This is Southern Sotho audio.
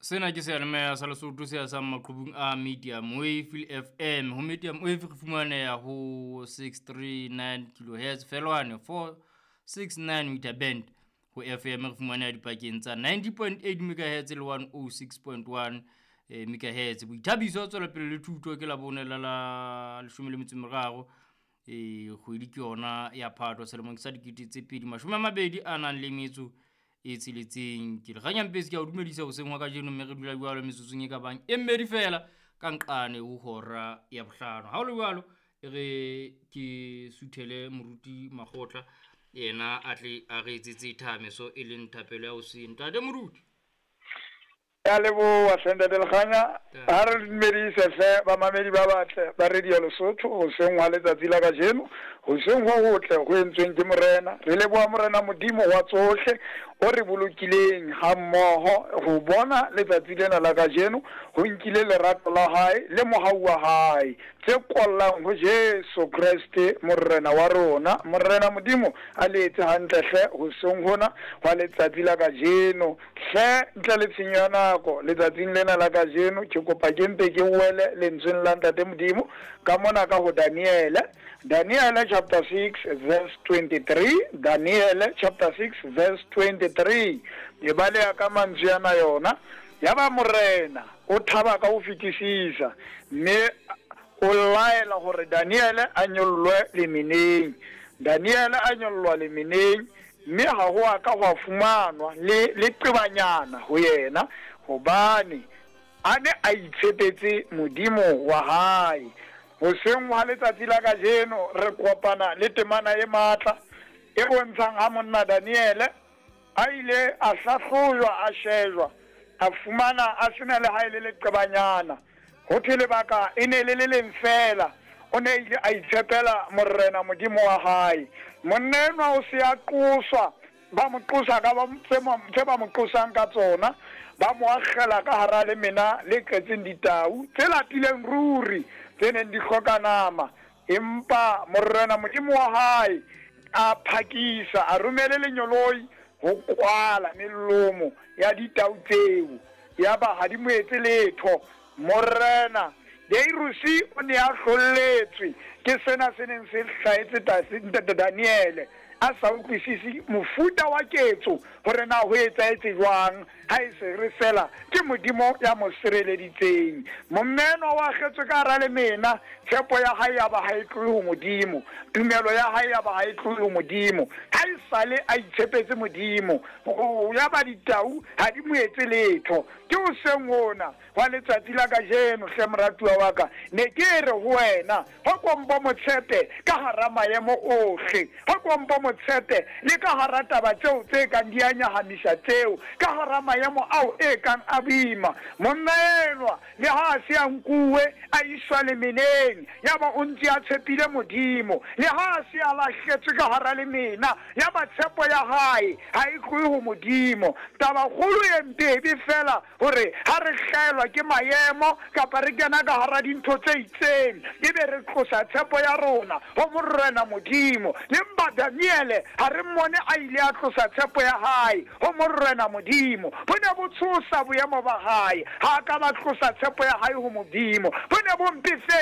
Sena ke seyalemoya sa Lesotho se hasang maqhubung a Medium Wave le FM. Ho Medium Wave re fumaneha ho 639 kilohertz felwane 469 meter band. Ho FM re fumaneha dipakeng tsa 90.8 megahertz le 106.1 megahertz. Boithabiso, tswelopele le thuto ke Labone la la 13 kgwedi ke yona ya Phato selemong sa 2026. Ke Lekganyampetsi, ke a o dumedisa hoseng hwa kajeno, mme re dula jwalo metsotsong e ka bang e mmedi feela ka nqane ho hora ya bohlano. Ha ho le jwalo, e re ke suthele moruti Makgotla, yena a tle a re etsetse thameso e leng thapelo ya hoseng. Ntate moruti. Ya leboha hle ntate Lekganya. Ha re dumedise hle bamamedi ba batle ba Radio Lesotho hoseng hwa letsatsi la kajeno. Hoseng ho hotle ho entsweng ke Morena. Re leboha Morena Modimo wa tsohle o re bolokileng ha mmoho ho bona letsatsi lena la kajeno. Ho nkile lerato la hae le mohau wa hae tse kollang ho Jesu Kreste Morena wa rona. Morena Modimo a le etse hantle hle hoseng hona hwa letsatsi la kajeno. Hle, ntle le tshenyo ya nako, letsatsing lena la kajeno, ke kopa ke mpe ke wele lentsweng la Ntate Modimo, ka mona ka ho Daniele, Daniele chapter 6 verse 23, Daniele chapter 6 verse 23. E baleha ka mantswe ana yona, Yaba morena o thaba ka ho fetisisa, mme o laela hore Daniele a nyollwe lemeneng. Daniele a nyollwa lemeneng, Mme ha ho a ka hwa fumanwa le leqebanyana ho yena, hobane a ne a itshepetse Modimo wa hae. Hoseng hwa letsatsi la kajeno re kopana le temana e matla e bontshang ha monna Daniele a ile a hlahlojwa, a shejwa, a fumana a se na le ha e le leqebanyana. Ho thwe lebaka e ne le le leng feela, o ne a ile a itshepela Morena Modimo wa hae. Monna enwa o se a qoswa, ba mo qosa ka tse ba mo qosang ka tsona, ba mo akgela ka hara lemena le tletseng ditau tse lapileng ruri, tse neng di hloka nama. Empa Morena Modimo wa hae a phakisa a romele lenyoloi ho kwala melomo ya ditau tseo, yaba ha di mo etse letho. Morena Dariuse o ne a hlolletswe ke sena se neng se hlahetse ntate Daniele, a sa utlwisise mofuta wa ketso hore na ho etsahetse jwang. Ha e se re feela ke Modimo ya mo sireleditseng. Monna enwa o akgetswe ka hara lemena, tshepo ya hae ya ba ha e tlohe ho Modimo, tumelo ya hae ya ba ha e tlohe ho Modimo. Ha e sale a itshepetse Modimo, ya ba ditau ha di mo etse letho. Ke hoseng hona hwa letsatsi la kajeno, hle moratuwa wa ka, ne ke re ho wena, Ho kompo mo tshepe ka hara maemo ohle. Ho kompo mo tshepe le ka hara taba tseo tse kang di a nyahamisa tseo, ka hara maemo ao e kang a boima. Monna enwa, le ha a se a nkuwe a iswa lemeneng, yaba o ntse a tshepile Modimo. Le ha a se a lahletswe ka hara lemena, yaba tshepo ya hae ha e tlohe ho Modimo. Tabakgolo e mpe e be feela Hore ha re hlahelwa ke maemo kapa re kena ka hara dintho tse itseng, ebe re tlosa tshepo ya rona ho Morena Modimo. Empa Daniele ha re mmone a ile a tlosa tshepo ya hae ho Morena Modimo. Bo ne bo tshosa boemo ba hae. Ha a ka ba tlosa tshepo ya hae ho Modimo. Bo ne bo mpefetse.